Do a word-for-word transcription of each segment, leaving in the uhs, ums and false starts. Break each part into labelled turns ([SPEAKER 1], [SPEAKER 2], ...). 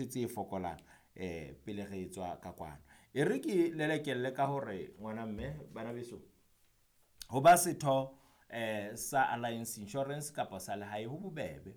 [SPEAKER 1] Tse fokolang eh pele re tswa ka kwano. E re ke lelekelle ka hore ngwana mme bana beso, ho ba setho eh sa Alliance Insurance kapa sa lehae ho bobebe.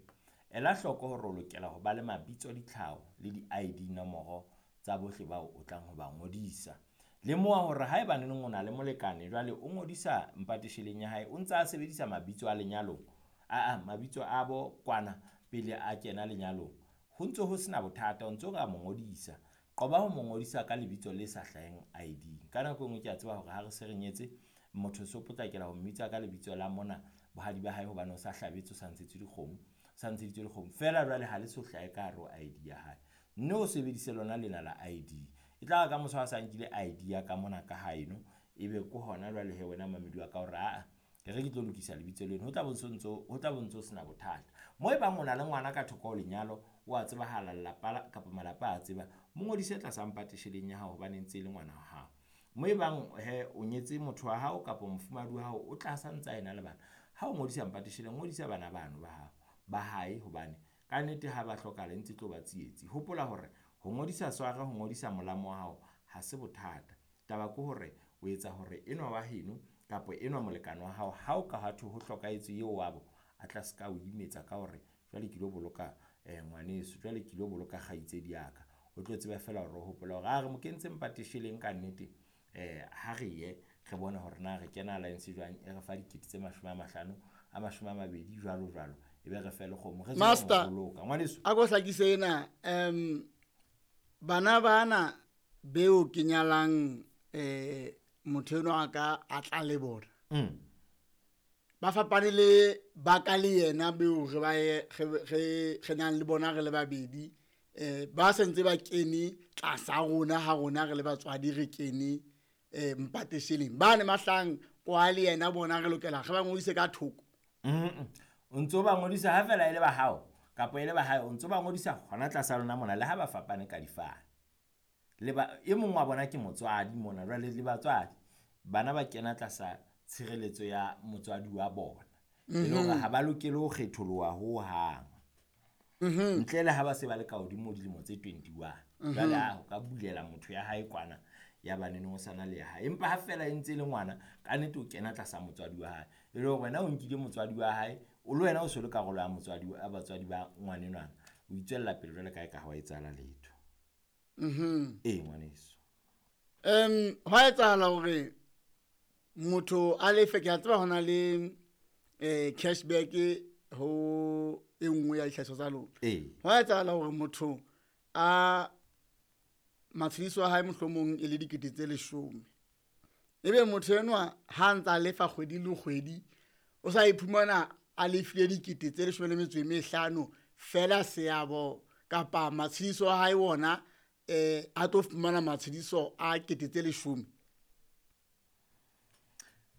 [SPEAKER 1] Ela hloko hore o lokela ho ba le mabitso le tlhaho le di-I D nomoro tsa bohle bao o tlang ho ba ngodisa. Lemoha hore haeba neneng o na le molekane jwale o ngodisa mpatesheleng ya hae, o ntsa sebedisa mabitso a lenyalong aa mabitso a bo kwana pele a kena lenyalong. Ho ntso ho sena bothata, o ntso ka mo ngodisa. Qoba ho mo ngodisa ka lebitso le sa hlaheng I D. Ka nako e nngwe ke a tseba hore ha re se re nyetse, motho so potlakela ho mmitsa ka lebitso la mona bohadi ba hae hobane o sa hlabetswe, o sa ntshetswe dikgomo, sa ntsheditswe dikgomo. Feela jwale ha le so hlahe ka hare ho I D ya hae. Nne o sebedise lona lena la I D. E tla re ka moso ha sa nkile I D ya ka mona ka haeno, ebe ke hona jwale hee wena mamedi wa ka hore aa e re ke tlo lokisa lebitso leno. Ho tla bo ntso ho tla bo ntso sena bothata. Mo e bang o na le ngwana ka thoko ho lenyalo, wa tsebahala lelapa la kapa malapa a tseba, mo ngodise tlasa mpatesheleng ya hao hobane e ntse e le ngwana wa hao. Mo e bang hee o nyetse motho wa hao kapa mofumahadi wa hao, o tla santsa ena le bana. Ha o ngodisa mpatesheleng, ngodisa bana bano ba hao ba hae hobane kannete ha ba hlokahala e ntse e tlo ba tsietsi. Hopola hore ho ngodisa sware, ho ngodisa molamo wa hao ha se bothata. Taba ke hore o etsa hore enwa wa heno kapa enwa molekane wa hao, ha o ka ha thwe ho hlokahetse eo wabo, a tla ska o imetsa ka hore jwale ke ilo boloka eh ngwaneso, jwale ke ilo boloka kgaitsedi ya ka. O tlo tseba feela hore o hopola hore a re mo kentse mpatesheleng kannete. Eh ha re ye re bone hore na re kena alliance jwang, e re fa dikete tse mashome a mahlano a mashome a mabedi jwalo jwalo. E be re fe le kgomo re
[SPEAKER 2] Master,
[SPEAKER 1] boloka ngwaneso.
[SPEAKER 2] A ko hlakise ena um bana bana beo ke nyalang eh motho enwa a ka a tla le bona.
[SPEAKER 1] Mm.
[SPEAKER 2] Ba fapane le ba ka le yena beo re ba ye re re re nang le bona re le babedi, eh ba sentse ba kene tlasa rona ha rona re le batswadi re kene eh mpatesheleng ba ne mahlang kwa le yena bona re lokela re ba ngodise ka thoko.
[SPEAKER 1] Mm. O ntso ba ngodisa ha fela e le ba hao kapa e le ba hae, o ntso ba ngodisa hona tlasa lona mona le ha ba fapane ka difane. Le ba e mong wa bona ke motswadi mona jwale le batswadi. Bana ba kena tlasa tshireletso ya motswadi wa bona. E le hore ha ba lokele ho kgetholoha hohang. Ntle le ha ba se ba le ka hodimo dilemo tse twenty-one. Jwale ha o ka bulela motho ya hae kwana ya ba neneng o sana le ya hae. Empa ha feela e ntse e le ngwana, kannete o kena tlasa motswadi wa hae. E le hore wena o nkile motswadi wa hae, o le wena o so le karolo ya motswadi ya batswadi ba ngwanenwana. O itswella pele jwale ka e ka ha wa etsahala letho.
[SPEAKER 2] Mhm.
[SPEAKER 1] Ee ngwaneso.
[SPEAKER 2] Um hwa etsahala hore motho a lefe, ke a tseba hona le eh cashback ho e nngwe ya dihlahiswa tsa lona.
[SPEAKER 1] Ee.
[SPEAKER 2] Hwa etsahala hore motho a matshediso a hae mohlomong e le dikete tse leshome. Ebe motho enwa ha ntsa lefa kgwedi le kgwedi, o sa iphumana a lefile dikete tse leshome le metso e mehlano fela seabo kapa matshediso a hae wona eh a tlo fumana matshediso a kete tse leshome.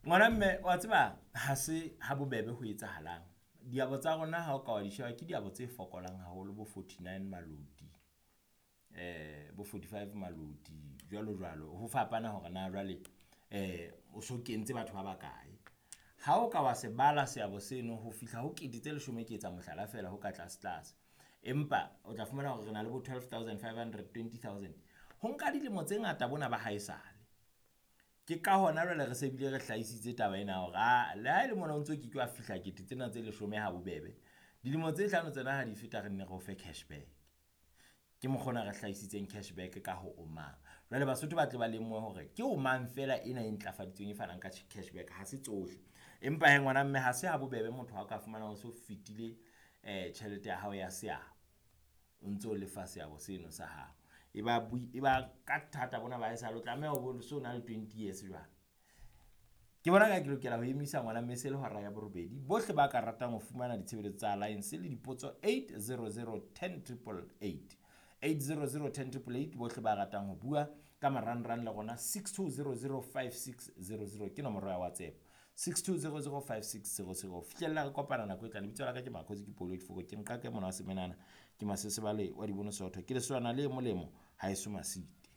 [SPEAKER 1] Ngwana mme wa tseba ha se ha bobebe ho etsahalang. Diabo tsa rona ha o ka wa di sheba ke diabo tse fokolang haholo bo forty-nine maloti, eh bo forty-five maloti jwalo jwalo. Ho fapana hore na jwale eh o so kentse batho ba bakae. Ha o ka wa se bala seabo seno ho fihla ho kete tse leshome, ke etsa mohlala feela ho ka tlase tlase. Empa o tla fumana hore re na le bo twelve thousand five hundred, twenty thousand. Ho nka dilemo tse ngata bona ba haesale. Ke ka hona jwale re se bile re hlahisitse taba ena hore a le ha e le mona o ntso ke ke wa fihla kete tsena tse leshome ha bobebe. Dilemo tse hlano tsena ha di feta re nne re o fe cashback. Ke mokgwa ona re hlahisitseng cashback ka ho Omang. Jwale Basotho ba tle ba lemohe hore ke Omang feela ena e ntlafaditsweng e fanang ka cashback, ha se tsohle. Empa hee ngwana mme ha se ha bobebe motho ha o ka fumana o so fetile eh tjhelete ya hao ya seabo. O ntso lefa seabo seno sa hao. E ba e ba ka thata bona ba haesale o tlameha ho bo so na le twenty years jwale. Ke bona ka ke lokela ho emisa ngwana mme se le hora ya borobedi. Bohle ba ka ratang ho fumana ditshebeletso tsa Alliance le dipotso eight zero zero ten triple eight. eight zero zero ten triple eight. Bohle ba ratang ho bua ka marangrang le rona six two zero zero five six zero zero ke nomoro ya WhatsApp. six two zero zero five six zero zero. Fihlella re kopana nako e tlang. Lebitso la ka ke Makhosi, ke Polo Difoko, ke nqake mona wa semenana, ke Masesebale wa Dibono Sootho, ke leswana le molemo haeso Masite.